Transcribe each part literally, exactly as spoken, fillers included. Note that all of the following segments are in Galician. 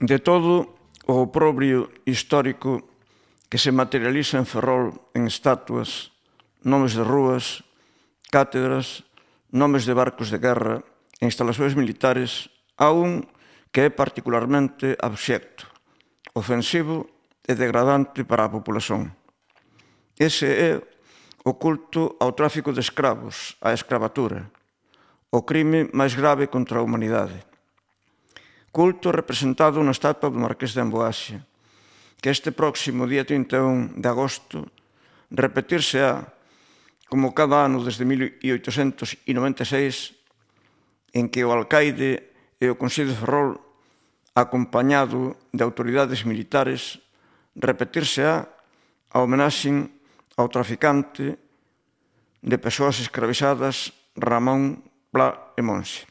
De todo o oprobrio histórico que se materializa en Ferrol en estatuas, nomes de rúas, cátedras, nomes de barcos de guerra e instalacións militares, há un que é particularmente abxecto, ofensivo e degradante para a populación. Ese é o culto ao tráfico de escravos, á escravatura, o crime máis grave contra a humanidade. Culto representado na estatua do Marqués de Amboaxe, que este próximo día trinta e un de agosto repetirse-á como cada ano desde mil oitocentos noventa e seis, en que o alcaide e o Consello de Ferrol, acompañado de autoridades militares, repetirse-á a homenaxe ao traficante de persoas escravizadas Ramón Pla e Monxe.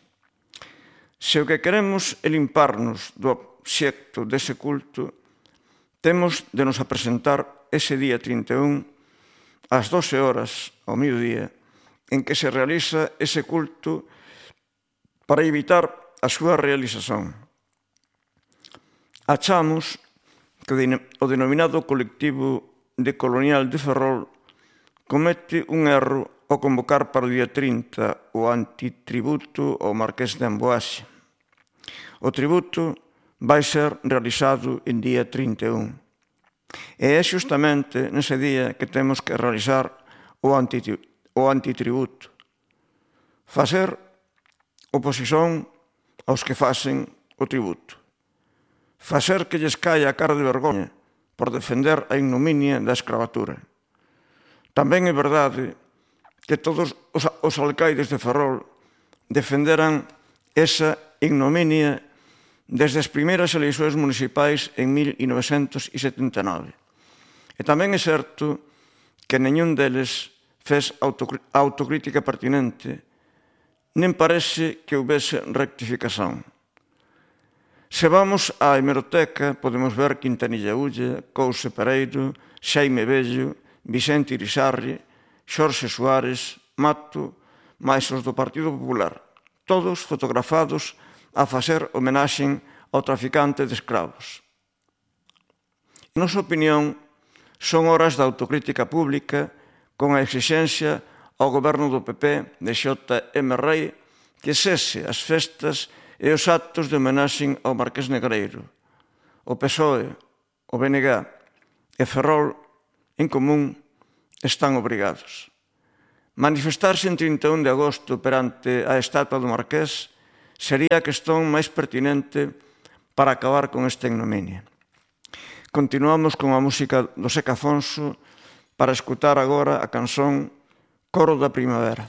Se o que queremos é limparnos do obxecto dese culto, temos de nos apresentar ese día trinta e un ás doce horas ao mediodía en que se realiza ese culto para evitar a súa realización. Achamos que o denominado colectivo de colonial de Ferrol comete un erro ao convocar para o día trinta o antitributo ao Marqués de Amboaxe. O tributo vai ser realizado en día trinta e un. E é xustamente nese día que temos que realizar o antitributo. Facer oposición aos que facen o tributo. Facer que lles caia a cara de vergoña por defender a ignominia da escravatura. Tamén é verdade que todos os alcaides de Ferrol defenderan esa ignominia desde as primeiras eleições municipais en mil novecentos setenta e nove. E tamén é certo que nenhún deles fez autocrítica pertinente, nen parece que houbese rectificación. Se vamos á hemeroteca, podemos ver Quintanilla Ulla, Couce Pereiro, Xaime Bello, Vicente Irisarri, Xorxe Suárez, Mato, máis os do Partido Popular, todos fotografados a facer homenaxe ao traficante de escravos. Na nosa opinión, son horas da autocrítica pública con a exixencia ao goberno do P P de Xota M. Rei que cese as festas e os actos de homenaxe ao Marqués Negreiro. O P S O E, o B N G e Ferrol, en común, están obrigados. Manifestarse en trinta e un de agosto perante a estatua do Marqués sería a cuestión máis pertinente para acabar con esta ignominia. Continuamos con a música do Seca Afonso para escutar agora a canción Coro da Primavera.